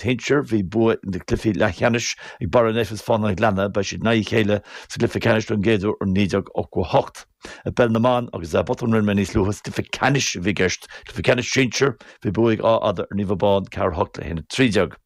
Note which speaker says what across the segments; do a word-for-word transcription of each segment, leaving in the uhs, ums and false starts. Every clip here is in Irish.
Speaker 1: Shinsir, bhí bua na gcluichí leathcheannais ag Barra an Eifir is Fána an Ghleanna, beidh siad in aghaidh a chéile sa gcluiche ceannais don gcéad uair ó naoi déag ochtó a hocht. I bPeil na mBan, agus botún a rinne mé níos luaithe, is cluiche ceannais a bhí i gceist, cluiche ceannais sinsir, bhí bua ag Áth Fhada ar Naomh Abán, ceathair a hocht le haon a trí déag.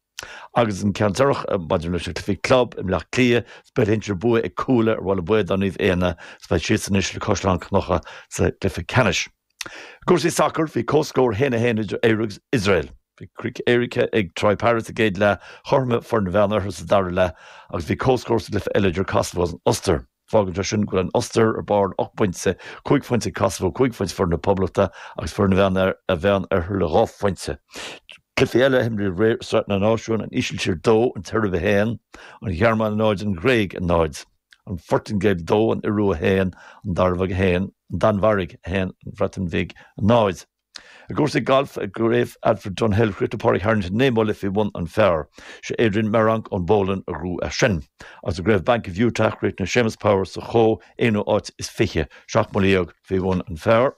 Speaker 1: Agus an ceann deireanach maidir leis na cluichí club i mBleá Cliath, sa bpeil shinsir, bua ag Cuala ar Bhaile Baodáin Naomh Éanna, is beidh siadsan anois le Caisleán Cnucha sa gcluiche ceannais. I gcúrsaí sacair, bhí comhscór a haon a haon idir Éire agus Iosrael. Bhí críoch éirice ag Troy Parrott sa gcéad leath, chothromaigh foireann an Mheánoirthir sa dara leath agus bhí comhscór sa gcluiche eile idir Kosovo agus an Ostair. Fágann sé sin go bhfuil an Ostair ar barr le ocht bpointe, cúig phointe ag Kosovo, cúig phointe foireann na Poblachta agus foireann an Mheánoirthir le dhá phointe. Cluichí eile a imríodh aréir i Sraith na Náisiún, an Ísiltír dó, an tSeirbia a haon, an Ghearmáin a náid, an Ghréig a náid, an Phortaingéil dó, an Iorua a haon, an Danmhairg a haon, an Danmhairg a haon, an Bhreatain Bhig a náid. I gcúrsaí gailf i gCraobh Alfred Dunhill, chríochnaigh Pádraig Harrington naoi mbuille faoi bhun an phar. Sé Adrian Meronk ón bPolainn a ghnóthaigh é sin. Agus i gCraobh Bank of Utah, chríochnaigh Séamus Power sa chomh aonú áit is fiche, seacht mbuille dhéag faoi bhun an phar.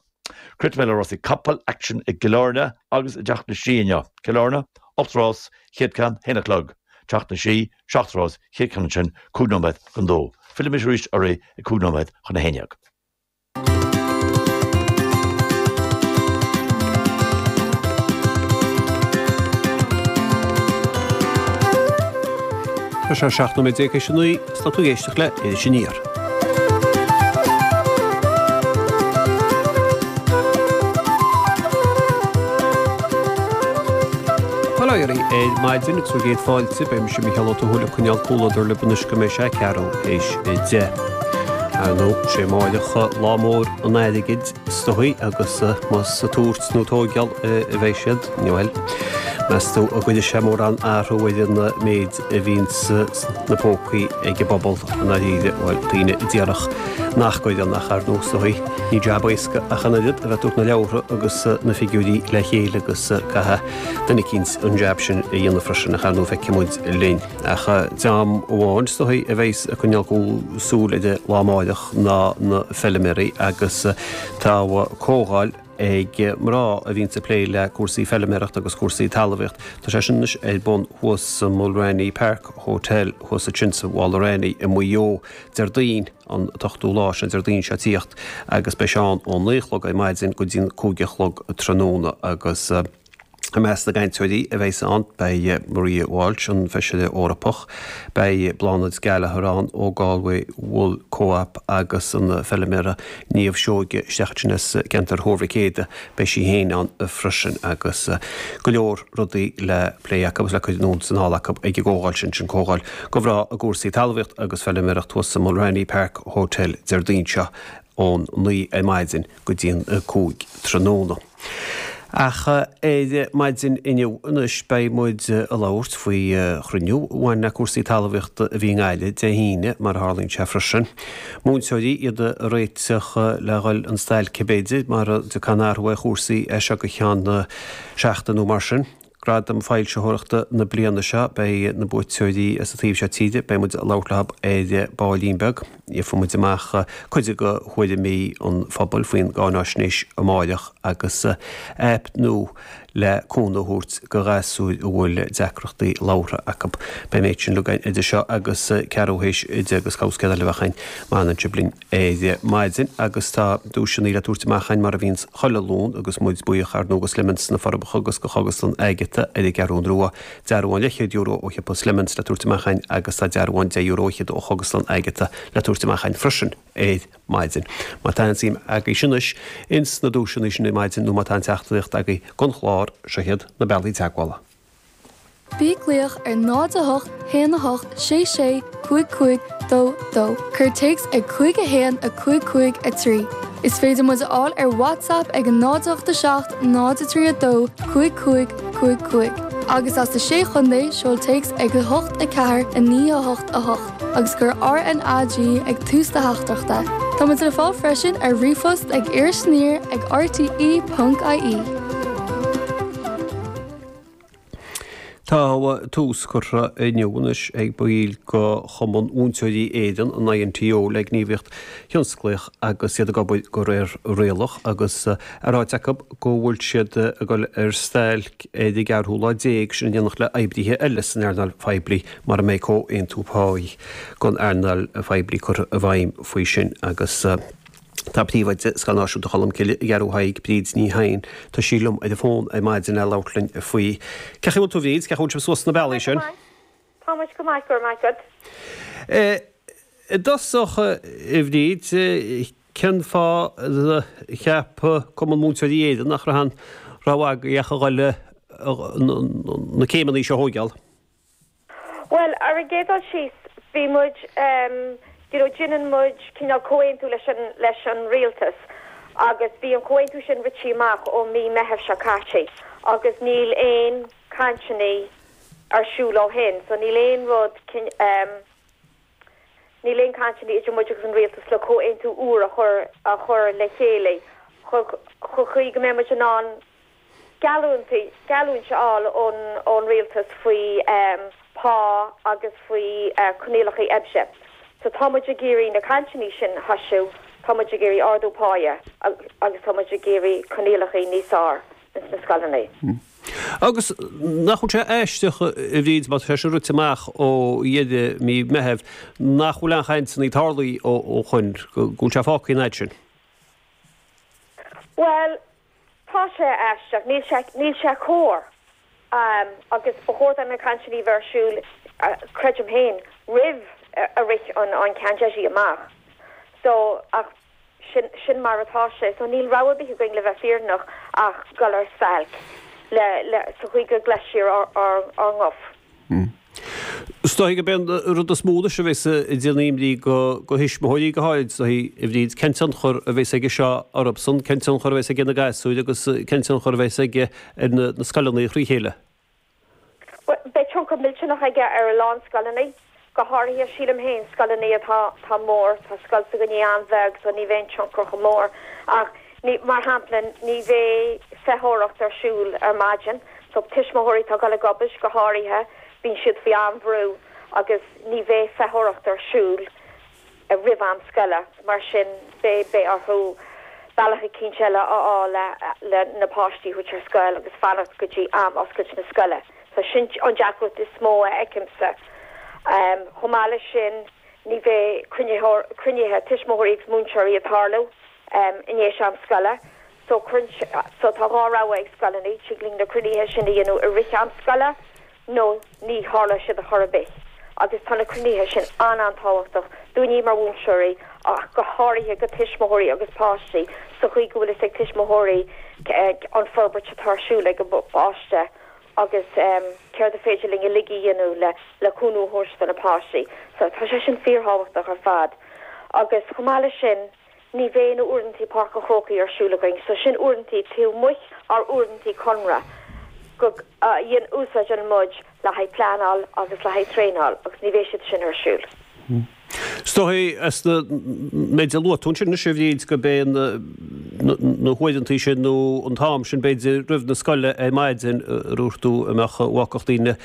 Speaker 1: Críochnóidh mé le rásaí capall, aicsean i gCill Airne agus i dTeach na Sí inniu. Cill Airne, ocht rás, chéad ceann, haon a chlog. Teach na Sí, seacht rás, chéad ceann ansin, cúig nóiméad chun dó. Fillfidh mise arís oraibh ag cúig nóiméad chun a haon dhéag.
Speaker 2: Tá sé seacht nóiméad déag théis a naoi, is tá tú ag éisteacht le Iris Aniar. Bail ó Dhia oraibh ar maidin agus bhur gcéad fáilte, beidh mise Mícheál Ó Tuathail ag coinneáil comhluadar libh anois go mbeidh sé ceathrú théis a deich. Ar ndóigh, sé amáireach lá mór an airgid is dóigh agus más ag tabhairt nó tóigeáil a bheidh siad, bhuel, meas tú an gcuirfidh sé mórán athrú ar an méid a bhíonn sna pócaí ag an bpobal i ndáiríre, bhuel, daoine a déarfadh nach gcuireann ach ar ndóigh is dóigh, ní jab éasca ach an oiread a bheith ag tabhairt na leabhartha agus na figiúirí le chéile agus caithfidh duine eicínt an jab sin a dhéanamh freisin ach ar ndóigh feicfidh muid linn. Ach dream amháin is dóigh a bheas ag coinneáil súil ar an lá amáireach ná na feilméaraí agus tá comhdháil ag mná a bhíonns ag plé le cúrsaí feilméarachta agus cúrsaí talmhaíocht. Tá sé sin anois ar bun thuas sa Mulranny Park Hotel thuas ansin sa Mhullranny i Maigh Eo Déardaoin an t-ochtú lá, sin Déardaoin seo ag tíocht agus beidh sé ann ón naoi a chlog ar maidin go dtí an cúig a chlog tráthnóna agus I measc na gcainteoirí a bheas ann beidh Maria Walsh, an Feisire Eorpach, beidh Bláthnaid Gallagher ann ó Galway Wool Co-op agus an feilméara Niamh Seoige isteach ansin as ceantar Thuar Mhic Éadaigh, beidh sí féin ann freisin agus go leor rudaí le plé acu agus le cur anonn is anall acu ag an gcomhdháil sin, sin comhdháil do mhná i gcúrsaí talmhaíocht agus feilméireacht thuas sa Mulranny Park Hotel Déardaoin seo ón naoi ar maidin go dtí an cúig tráthnóna. Ach ar maidin inniu anois beidh muid ag labhairt faoi chruinniú a bhain le cúrsaí talmhaíochta a bhí i nGaillimh Dé hAoine, mar a tharlaíonn sé freisin. Múinteoirí, iad ag réiteach le dhul an stailc b'fhéidir, mara dtiocfaidh aon athrú ar chúrsaí as seo go ceann seachtain nó mar sin. Gradaim Foilsitheoireachta na bliana seo, beidh na buaiteoirí as an taobh seo tíre, beidh muid ag labhairt leo ar baillín beag. Gheobhaidh muid amach cuid de thuairimí an phobail faoin gcáináisnéis amáireach agus aip nua le cúnamh a thabhairt do ghasúir a bhfuil deacrachtaí labhartha acu. Beidh an méid sin againn idir seo agus ceathrú théis a deich agus cabhscéal eile a bheadh againn má fhanann sibh linn ar maidin agus tá duaiseanna le tabhairt amach againn mar a bhíonns chuile Luan agus muid buíoch ar ndóigh do Slemons sna Forbacha agus do Chógaslann Agatha ar an gCeathrú Rua. Dearbhán leathchéad euro ó shiopa Slemons le tabhairt amach againn agus tá dearbhán deich euro fhichead ó Chógaslann Agatha le tabhairt amach againn freisin ar maidin. Má tá aon suim agaibh anois ins na duaiseanna sin ar maidin nó má tá aon teachtaireacht agaibh don chlár, seo iad na bealaí teagmhála.
Speaker 3: Bí ag glaoch ar náid a hocht haon a hocht sé sé cúig cúig dó dó. Cuir téacs ag cúig a haon a cúig cúig a trí. Is féidir muid a fháil ar WhatsApp ag a náid a hocht a seacht náid a trí a dó cúig cúig cúig cúig. Agus as na Sé Chontae, seol téacs ag a hocht a ceathair a naoi a hocht a hocht agus cuir R N A G ag tús do theachtaireachta. Tá muid le fáil freisin ar ríomhphost ag irisaniar ag R T E ponc I E.
Speaker 2: Tá tús curtha inniu anois ag baill de Chumann Mhúinteoirí Éireann, an INTO, le gníomhaíocht thionsclaíoch agus iad ag obair de réir rialach agus á ráit acu go bhfuil siad ag dul ar stailc ar an gceathrú lá déag, sin in éineacht le oibrithe eile san earnáil phoiblí mara mbeidh comhaontú páí don earnáil phoiblí curtha i bhfeidhm faoi sin agus Tá Príomhoide Scoil Náisiúnta Cholmcille i gCeathrú Thaidhg, Bríd Ní Chadhain, tá sí liom ar an bhfón ar maidin le labhairt linn faoi. Cén chaoi a bhfuil tú Bhríd, cén chaoi a bhfuil sibh suas na bealaí sin?
Speaker 4: Tá muid go maith, go raibh maith agat.
Speaker 2: I dtosach, a Bhríd, cén fáth a cheap Cumann Múinteoirí Éireann nach raibh aon rogha agaibh ach a dhul na céimeanna seo a thóigeáil?
Speaker 4: Bhuel, ar an gcéad dul síos, bhí muid, you know, déanann muid cineál comhaontú leis an, leis an rialtas agus bhí an comhaontú sin rite amach ó mí Meitheamh seo caite agus níl aon cainteanna ar siúl ó shin, so níl aon rud, níl aon cainteanna idir muid agus an rialtas le comhaontú úr a chur, a chur le chéile chun, chun chaoi go mbeidh muid in ann geallúint a fháil ón rialtas faoi phá agus faoi choinníollacha oibre. So tá muid ag iarraidh na cainteanna sin a thosú, tá muid ag iarraidh ardú páighe agus tá muid ag iarraidh coinníollacha níos fearr ins na scoileanna.
Speaker 2: Agus nach bhfuil sé aisteach, a Bhríd, má tá sé sin rite amach ó dheireadh mí Meithimh, nach bhfuil aon chainteanna tarlaithe ó shoin, go bhfuil sé fágtha an fhad sin?
Speaker 4: Bhuel, Tá sé aisteach, níl sé, níl sé cóir. Agus ba chóir do na cainteanna a bheith ar siúl, creidim féin, roimh a rith an an ceannteideal amach. So, ach sin, sin mar atá sé. So níl rogha ar bith againn le bheith fírinneach ach dul ar stailc le, le, sa chaoi go gcloisfear ár, ár, ár nguth.
Speaker 2: Is dóigh gurb é an rud is mó anois a bheas ag déanamh imní do thuismitheoirí go háirid, is dóigh, a Bhríd, cén tionchar a bheas aige seo orthusan, cén tionchar a bheas aige ar na gasúir agus cén tionchar a bheas aige ar na scoileanna thrí chéile?
Speaker 4: Bhuel, beidh tionchar millteanach aige ar a lán scoileanna, go háirithe, sílim féin, scoileanna atá atá mór. Tá scoil s'againne an-bheag so ní bheidh an tionchar chomh mór ach ní, mar shampla, ní bheidh feitheoireacht ar siúl ar maidin so tuismitheoirí atá ag dul ag obair go háirithe, Bíonn siad faoi an-bhrú agus ní bheidh feitheoireacht ar siúl roimh am scoile, mar sin beidh beidh orthu bealach eicínt eile a fháil le le na páistí a thabhairt ar scoil agus fanacht go dtí am oscailt na scoile. So sin an deacracht is mó a fheicimse. Chomh maith leis sin ní bheidh cruinnithe tuismitheoirí agus múinteoirí ag tarlú i ndiaidh am scoile. So cuireann so tá dhá rogha ag scoileanna, tig linn na cruinnithe sin a dhéanamh i rith am scoile nó ní tharlóidh siad ar chor ar bith. Agus tá na cruinnithe sin an-an-tábhachtach dúinne mar mhúinteoirí ach go háirithe go tuismitheoirí agus páistí sa chaoi go bhfuil fhios ag tuismitheoirí an forbairt atá ar siúl ag a bpáiste agus céard a féidir linn uilig a dhéanamh le le cúnamh a thabhairt do na páistí. So tá sé sin fíorthábhachtach ar fad. Agus chomh maith leis sin, Ní bheidh na uaireantaí Páirc an Chrócaigh ar siúl againn, so sin uaireantaí taobh amuigh ár uaireantaí conradh go a úsáideann muid le haghaidh pleanáil agus le haghaidh traenáil agus ní bheidh siad sin ar siúl.
Speaker 2: Is dóigh as na méid a luaigh tú ansin anois a Bhríd gurb é na huaireantaí sin nó an t-am sin b'fhéidir roimh na scoile ar maidin a dúirt tú a mbeadh a bhfágfadh daoine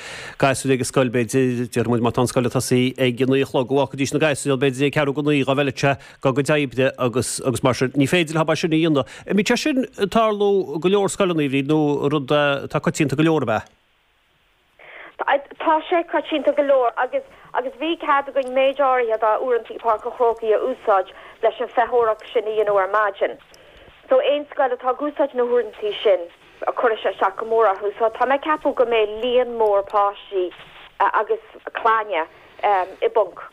Speaker 2: gasúir ag an scoil b'fhéidir déarfaidh muid má tá an scoil ag tosaí ag a naoi a chlog go bhfágfaidís na gasúir b'fhéidir ag ceathrú go naoi dhá bhfeilfeadh sé dá gcuid oibre agus agus mar sin. Ní féidir leo é sin a dhéanamh. An mbíonn sé sin ag tarlú i go leor scoileanna, a Bhríd, nó rud atá coitianta go leor ab ea?
Speaker 4: Tá sé coitianta go leor agus agus bhí cead againn méid áirithe dá uaireantaí Páirc an Chrócaigh a úsáid leis an feitheoireacht sin a dhéanamh ar maidin. So aon scoil atá ag úsáid na huaireantaí sin, cuirfidh sé isteach go mór orthu. So tá mé ag ceapadh go mbeidh líon mór páistí agus clainne i bponc.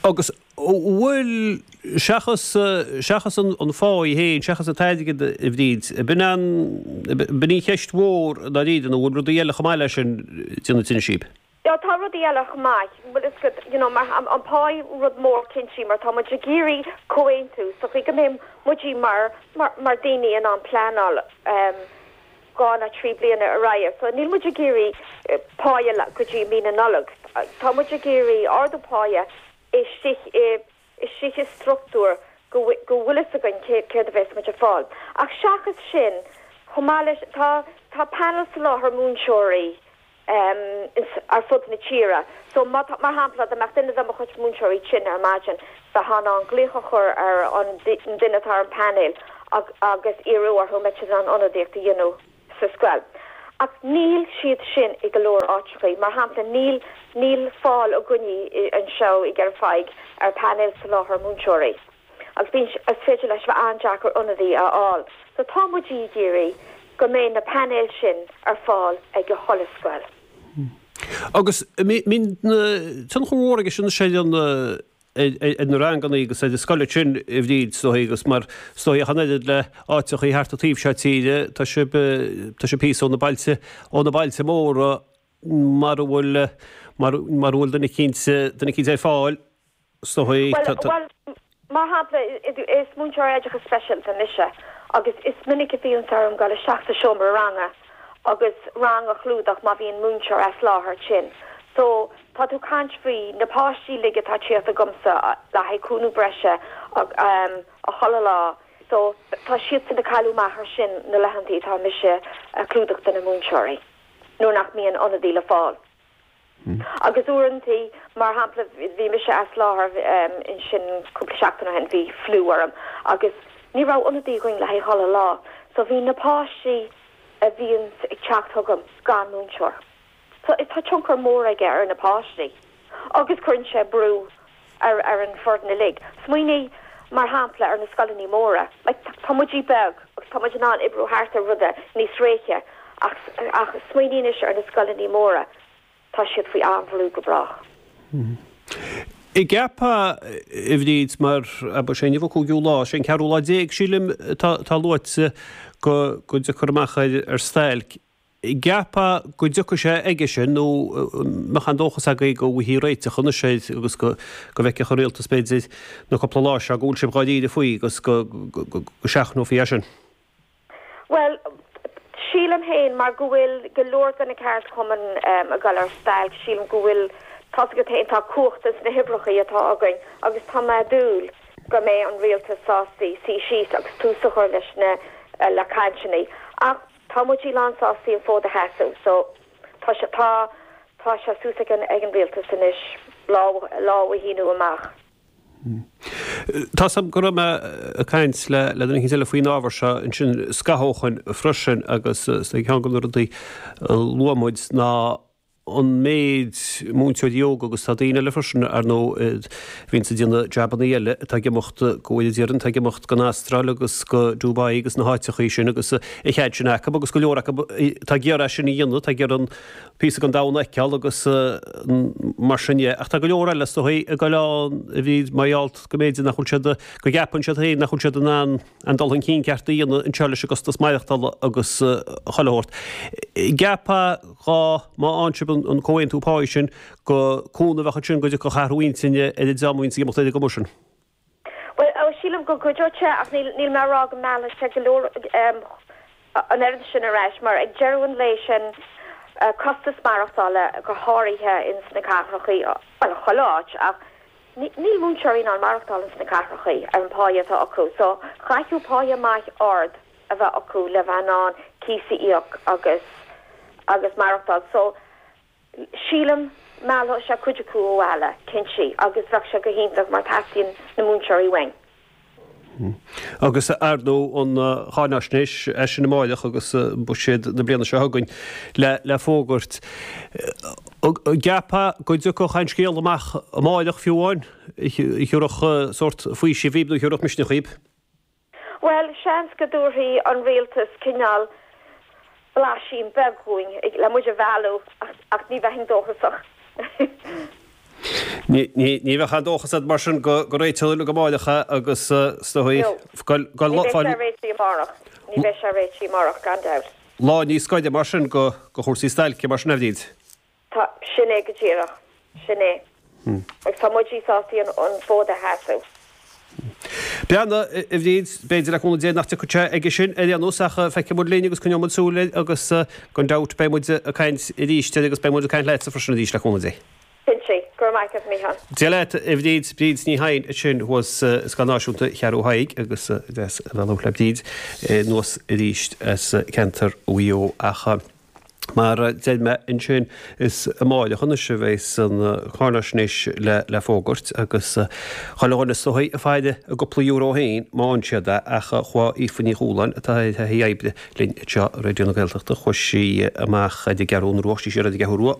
Speaker 2: Agus bhfuil, seachas, seachas an phá í féin, seachas an t-airgead a Bhríd, b'in an, b'in í an cheist mhór i ndáiríre nó bhfuil rudaí eile chomh maith leis sin ag déanamh tinnis daoibh?
Speaker 4: Yeah, tá rudaí eile chomh maith, bhfuil fhios agat, you know, mar an pá rud mór cinnte mar tá muid ag iarraidh comhaontú sa chaoi go mbeidh muid mar, mar, mar daoine in ann pleanáil dhá nó trí bliana ar aghaidh. So níl muid ag iarraidh páighe go dtí mí na Nollag. Tá muid ag iarraidh ardú páighe istigh i istigh i struchtúr go go bhfuil fhios againn céard a bheas muid ag fáil. Ach seachas sin, Chomh maith leis, tá tá painéal soláthair múinteoirí ar fud na tíre. So má tá, mar shampla, dá mbeadh duine de mo chuid múinteoirí tinn ar maidin, bheifeá in ann glaoch a chur ar an duine atá ar an bpainéal agus iarraidh orthu an mbeadh siad in ann ionadaíocht a dhéanamh sa scoil. Ach níl siad sin i go leor áiteachaí. Mar shampla, níl níl fáil againne anseo i gCeithre Pheig ar phainéal soláthair múinteoirí. Agus bíonn, is féidir leis bheith an-deacair ionadaí a fháil. So tá muid ag iarraidh go mbeidh na painéil sin ar fáil ag chuile scoil.
Speaker 2: Agus mbíonn tionchar mhór aige sin sé an ar na ranganna agus ar na scoileanna sin a Bhríd, is dóigh, agus mar is dóigh ach an oiread le áiteachaí thart an taobh seo tíre, tá sibh tá sibh píosa ó na bailte ó na bailte móra mara bhfuil mara bhfuil duine eicínt duine eicínt ar fáil. Is dóigh.
Speaker 4: Bhuel, mar shampla, is múinteoir oideachais speisialta mise agus is minic a bhíonns orm dul isteach sa seomra ranga agus rang a chlúdach má bhíonn múinteoir as láthair tinn. So, tá tú caint faoi na páistí uilig atá ag tíocht chugamsa le haghaidh cúnamh breise a chuile lá. So, tá siadsan ag cailleadh amach ar sin na laethantaí atá mise ag clúdach do na múinteoirí nuair nach mbíonn ionadaí le fáil. Agus uaireantaí, mar shampla, bhí mise as láthair ansin cúpla seachtain ó shin, bhí fliú orm agus ní raibh ionadaí againn le haghaidh chuile lá. So bhí na páistí a bhíonns ag teacht chugam gan múinteoir. So tá tionchar mór aige ar na páistí agus cuireann sé brú ar ar an bhfoireann uilig. Smaoinigh, mar shampla, ar na scoileanna móra. Like, tá muid beag agus tá muid in ann oibriú thart ar rudaí níos réidhe ach ach smaoinigh anois ar na scoileanna móra. Tá siad faoi an-bhrú go brách.
Speaker 2: An gceapfá, a Bhríd, mar ab é inniu an cúigiú lá, sé an ceathrú lá déag, sílim, atá luaite go dtiocfar amach ar stailc. An gceapfá go dtiocfaidh sé aige sin nó mbeadh an dóchas agaibh go bhfaighfí réiteach anois air agus go bhfeicfeadh an rialtas b'fhéidir na cúpla lá seo go bhfuil sibh dháiríre faoi agus go seachnófaí é sin?
Speaker 4: Bhuel, sílim féin, mar go bhfuil go leor de na ceardchumainn ag dul ar stailc, sílim go bhfuil, tá's agat féin, tá cumhacht ins na huimhreachaí atá againn agus tá mé ag dúil go mbeidh an rialtas sásta suí síos agus tús a chur leis na, le cainteanna. Ach tá muid lán sásta an fód a sheasamh so tá sé, tá, tá sé suas ag an, ag an rialtas anois lámh, lámh a shíniú amach.
Speaker 2: Tá's a'm go raibh mé ag caint le le duine eicínt eile faoin ábhar seo ansin scaitheamh ó shoin freisin agus is ceann de na rudaí a luaigh muid ná an méid múinteoirí óga agus tá daoine eile freisin ar ndóigh a bhíonns ag déanamh jabannaí eile atá ag imeacht go bhfuil iad atá ag imeacht don Astráil agus go Dubai agus na háiteachaí sin agus an cead sin acu agus go leor acu atá ag iarraidh sin a dhéanamh atá ag iarraidh an píosa den domhan a fheiceáil agus mar sin de. Ach tá go leor eile is dóigh ag dul ann a bhí mar gheall go mb'fhéidir nach bhfuil siad, go gceapann siad féin nach bhfuil siad in ann an dul chun cinn ceart a dhéanamh anseo leis an gcostas maireachtála agus chuile shórt. An gceapfá dhá má fhaigheann sibh an comhaontú páí sin go cúnamh a bheadh ansin go dtiocfadh athrú intinne ar an dream a bhíonns ag imeacht ar an gcuma sin?
Speaker 4: Bhuel, sílim go gcuideodh sé ach níl mé ag rá go meallfaidh sé go leor an oiread sin ar ais mar ag deireadh an lae sin costas maireachtála go háirithe ins na cathrachaí, bhuel chuile áit ach níl múinteoirí in ann maireachtáil ins na cathrachaí ar an páighe atá acu so chaithfeadh páighe maith ard a bheith acu le bheith in ann cíos a íoc agus agus maireachtáil so sílim meallfaidh sé cuid acu abhaile cinnte agus bheadh sé go hiontach mar teastaíonn na múinteoirí uainn.
Speaker 2: Agus ar ndóigh an cháinaisnéis as sin amáireach agus buiséad na bliana seo chugainn le fógairt. An gceapfá go dtiocfadh aon scéal amach amáireach fiú amháin a thabharfadh sórt faoisimh dhaoibh nó a thabharfadh misneach dhaoibh?
Speaker 4: Bhuel, seans go dtabharfaidh an rialtas cineál blaisín beag dhúinn le muid a mhealladh ach ní bheinn dóchasach.
Speaker 2: Ní bheadh aon dóchas agat mar sin go réiteoidh uilig amáireach é agus is dóigh
Speaker 4: go Ní bheidh sé réitithe amárach. Ní bheidh sé réitithe amárach, gan dabht.
Speaker 2: Lá níos gaire mar sin go chúrsaí stailce mar sin a Bhríd.
Speaker 4: Tá, sin é go díreach. Sin é. Agus tá muid sásta an fód a sheasamh.
Speaker 2: Breathnaigh, a Bhríd, b'fhéidir le cúnamh Dé nach dtiocfaidh sé aige sin ar aon nós ach feicfidh muid linn agus coinneoidh muid súil air agus gan dabht beidh muid ag caint arís air agus beidh muid ag caint leatsa freisin arís le cúnamh Dé.
Speaker 4: Cinnte. Go raibh maith agat, Mícheál.
Speaker 2: Dia leat, a Bhríd, Bríd Ní Chadhain ansin thuas i Scoil Náisiúnta Cheathrú Thaidhg agus deas a bheith ag labhairt le Bríd anuas arís as ceantar Mhaigh Eo ach mar a deir mé ansin is amáireach anois a bheas an cháinaisnéis le le fógairt agus chuile dhuine is dóigh ag faire a gcúpla euro féin má fhaigheann siad é ach chuaigh Aoife Ní Chualáin atá ar thaithí oibre linn anseo i Raidió na Gaeltachta chuaigh sí amach ar an gCeathrú Rua, sí siar ar an gCeathrú Rua